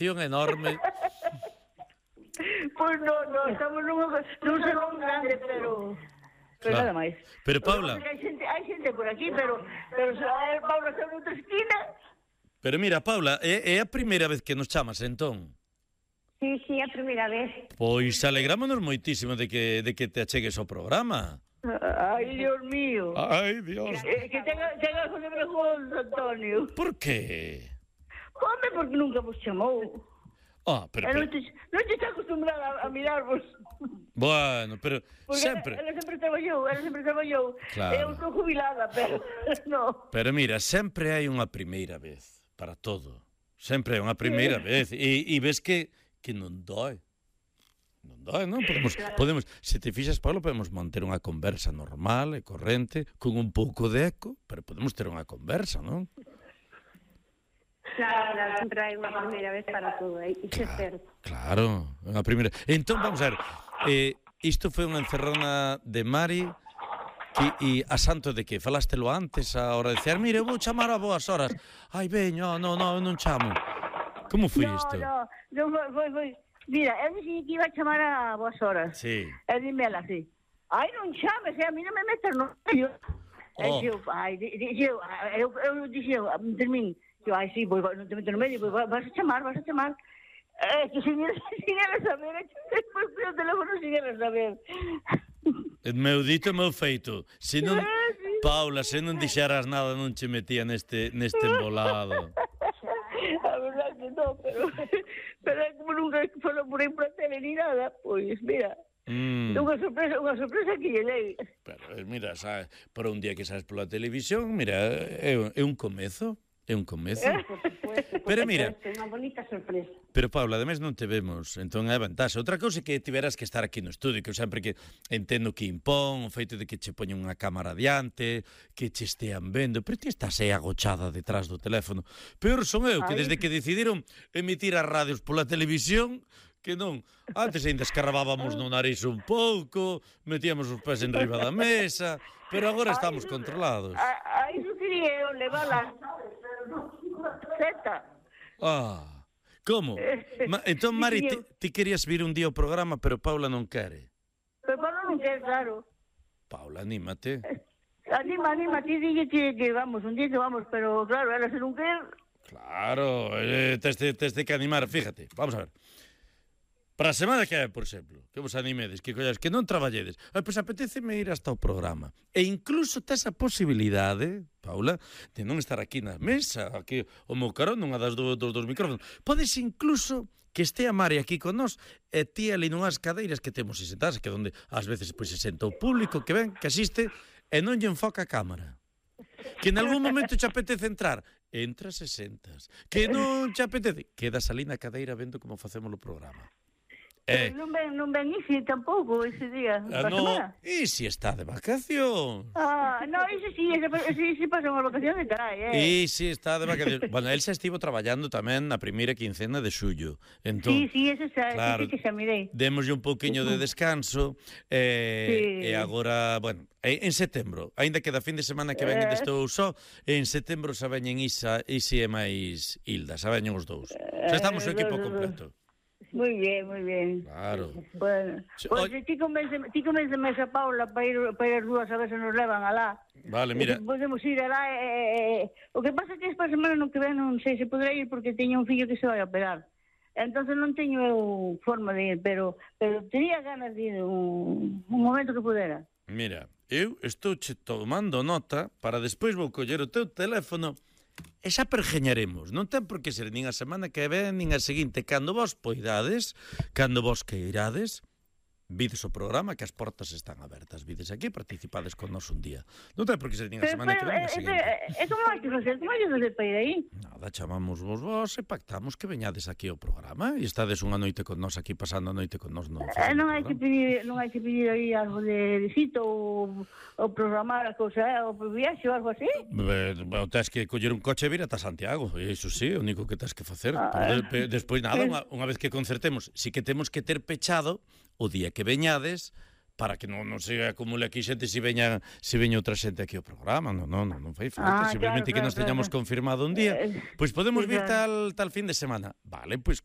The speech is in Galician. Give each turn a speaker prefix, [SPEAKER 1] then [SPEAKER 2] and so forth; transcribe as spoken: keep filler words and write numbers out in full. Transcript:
[SPEAKER 1] enorme.
[SPEAKER 2] Pois non, non, estamos nun, nun salón grande, pero... Pero
[SPEAKER 1] Claro.
[SPEAKER 2] nada máis.
[SPEAKER 1] Pero, Paula-
[SPEAKER 2] Hai xente, hai xente por aquí, pero... Pero se a Paula está noutra esquina...
[SPEAKER 1] Pero mira, Paula, é, é a primeira vez que nos chamas, entón.
[SPEAKER 3] Sí, sí, a primeira vez.
[SPEAKER 1] Pois alegrámonos moitísimo de que, de que te achegues ao programa.
[SPEAKER 2] Ai, Dios mío.
[SPEAKER 1] Ai, Dios.
[SPEAKER 2] Eh, que tenga, tenga José Brejón, Antonio.
[SPEAKER 1] Por que?
[SPEAKER 2] Home, porque nunca vos chamou.
[SPEAKER 1] Ah, pero,
[SPEAKER 2] E non
[SPEAKER 1] pero,
[SPEAKER 2] te, non te está acostumbrada a, a mirarvos.
[SPEAKER 1] bueno, pero
[SPEAKER 2] Porque
[SPEAKER 1] sempre.
[SPEAKER 2] ela, ela sempre traballou, ela sempre traballou.
[SPEAKER 1] Claro.
[SPEAKER 2] Eu estou jubilada, pero no.
[SPEAKER 1] Pero mira, sempre hai unha primeira vez para todo. Sempre hai unha primeira vez e, e ves que que non dói. Non dói, non? Podemos, podemos, se te fixas, Pablo, podemos manter unha conversa normal e corrente, con un pouco de eco, pero podemos ter unha conversa, non?
[SPEAKER 3] Claro, claro, sempre hai unha primeira vez para todo, eh? Iso é certo.
[SPEAKER 1] Claro, unha primeira. Entón, vamos a ver, eh, isto foi unha encerrona de Mari que, e a santo de que? Falástelo antes a hora de decir, mire, eu vou chamar a boas horas. Ai, veño, non, non, non chamo. Como foi
[SPEAKER 2] no,
[SPEAKER 1] isto?
[SPEAKER 2] No, no, foi, foi, foi. Mira, eu dixen que iba a chamar a boas horas.
[SPEAKER 1] Sí.
[SPEAKER 2] E dime ela así. Ai, non chames, eh, a mí non me metas no medio. E
[SPEAKER 1] Oh.
[SPEAKER 2] dixo, ai, dixo, eu, eu dixo, termín, eu, ai, sí, pois, non te meto no medio, pois vas a chamar, vas a chamar. Eh, que sin ela, sin ela saber, despois fui ao teléfono sin ela saber.
[SPEAKER 1] Meu dito, meu feito. Se non,
[SPEAKER 2] Ah, sí.
[SPEAKER 1] Paula, se non dixeras nada non che metía neste neste embolado.
[SPEAKER 2] A verdade que non, pero, pero como nunca foron por aí por a tele ni nada, pois, mira,
[SPEAKER 1] Mm.
[SPEAKER 2] unha sorpresa, unha sorpresa que lle dei.
[SPEAKER 1] Pero eh, mira, sabes, para un día que sabes pola televisión, mira, é, é un comezo, é un comezo.
[SPEAKER 3] Por supuesto, por
[SPEAKER 1] Pero mira,
[SPEAKER 3] supuesto, unha bonita sorpresa.
[SPEAKER 1] pero Paula, ademais non te vemos, entón é a vantaxe. Outra cousa é que tiveras que estar aquí no estudio, que eu sempre que entendo que impón, o feito de que che poñen unha cámara diante, que che estean vendo, pero ti estás aí agochada detrás do teléfono. Peor son eu, que
[SPEAKER 2] Ai.
[SPEAKER 1] desde que decidiron emitir as radios pola televisión, que non, antes ainda escarrabábamos no nariz un pouco, metíamos os pés en riba da mesa, pero agora estamos controlados.
[SPEAKER 2] A, a iso quería eu levala. Zeta.
[SPEAKER 1] Ah, como? Ma, entón, Mari, ti, ti querías vir un día ao programa, pero Paula non quere.
[SPEAKER 2] Pero Pablo non quer, claro.
[SPEAKER 1] Paula, anímate.
[SPEAKER 2] Anima, anima, ti dille que, que vamos, un día que vamos, pero claro, ela se non quer.
[SPEAKER 1] Claro, eh, tes, de, tes de que animar, fíjate, vamos a ver. Para a semana que é, por exemplo, que vos animedes, que collades, que non traballedes, eh, pois apetéceme ir hasta o programa. E incluso tes a posibilidade, Paula, de non estar aquí na mesa, aquí o meu carón, nunha das do, dos, dos micrófonos. Podes incluso que este a Mari aquí con nós e ti ali nunhas cadeiras que temos sentadas, que onde ás veces pois se senta o público que ven, que asiste, e non lle enfoca a cámara. Que en algún momento che apetece entrar, entras e sentas. Que non che apetece, quedas ali na cadeira vendo como facemos o programa. Eh,
[SPEAKER 2] Non ven, non ven Isi tampouco ese día.
[SPEAKER 1] ah,
[SPEAKER 2] pa
[SPEAKER 1] no,
[SPEAKER 2] semana.
[SPEAKER 1] e si está de vacación.
[SPEAKER 2] Ah, no, ese sí, ese, ese, ese pasan as vacaciones, carai, eh.
[SPEAKER 1] E si está de vacación. Bueno, el xa estivo traballando tamén na primeira quincena de xullo. Entón,
[SPEAKER 2] Sí, sí, ese xa,
[SPEAKER 1] claro,
[SPEAKER 2] ese que xa mirei.
[SPEAKER 1] démoslle un pouquiño de descanso eh,
[SPEAKER 2] Sí.
[SPEAKER 1] e agora, bueno, en setembro, aínda que da fin de semana que ven
[SPEAKER 2] Eh.
[SPEAKER 1] estou só, en setembro xa veñen Isa, Isi e máis Hilda, xa veñen os dous. Xa estamos o equipo completo.
[SPEAKER 2] Muy bien, muy bien.
[SPEAKER 1] Claro.
[SPEAKER 2] Bueno,
[SPEAKER 1] Sí,
[SPEAKER 2] pues
[SPEAKER 1] oi-
[SPEAKER 2] ti convénceme, ti convénceme esa Paula para ir, para ir as dúas a ver se nos levan alá.
[SPEAKER 1] Vale, mira.
[SPEAKER 2] Podemos ir alá. Eh, eh, o que pasa é que esta semana non que ven non sei se poderá ir porque teño un fillo que se vai a operar. Entonces non teño eu forma de ir, pero pero tería ganas de ir un, un momento que pudera.
[SPEAKER 1] Mira, eu estou che tomando nota para despois vou coller o teu teléfono e xa pergeñaremos. Non ten por que ser nin a semana que ven, nin a seguinte. Cando vos poidades, cando vos queirades, vides o programa que as portas están abertas. Vides aquí, participades con nos un día. Non ten por que ser nin a
[SPEAKER 2] Pero,
[SPEAKER 1] semana que
[SPEAKER 2] pero,
[SPEAKER 1] ven, nin a
[SPEAKER 2] eh,
[SPEAKER 1] seguinte.
[SPEAKER 2] eh, eh, como hai que facer? Como hai que facer para ir aí?
[SPEAKER 1] Nada, chamamos vos vos e pactamos que veñades aquí ao programa e estades unha noite con nos aquí, pasando a noite con nos no
[SPEAKER 2] Eh, non hai que pedir, non hai que pedir aí algo de, de cito ou, ou programar a cousa, eh, ou viaxe ou algo así.
[SPEAKER 1] Eh, bueno, tens que coller un coche e vir ata Santiago, e iso sí, o único que tens que facer.
[SPEAKER 2] Ah,
[SPEAKER 1] Pero de, de, despois nada,
[SPEAKER 2] eh.
[SPEAKER 1] unha, unha vez que concertemos, si que temos que ter pechado o día que veñades para que non, non se acumule aquí xente se veña se veña outra xente aquí ao programa. Non, non, non, non fai falta,
[SPEAKER 2] Ah,
[SPEAKER 1] simplemente
[SPEAKER 2] claro,
[SPEAKER 1] que nos
[SPEAKER 2] claro,
[SPEAKER 1] teñamos
[SPEAKER 2] claro.
[SPEAKER 1] confirmado un día.
[SPEAKER 2] Eh,
[SPEAKER 1] Pois podemos
[SPEAKER 2] sí,
[SPEAKER 1] vir
[SPEAKER 2] claro.
[SPEAKER 1] tal tal fin de semana. Vale, pois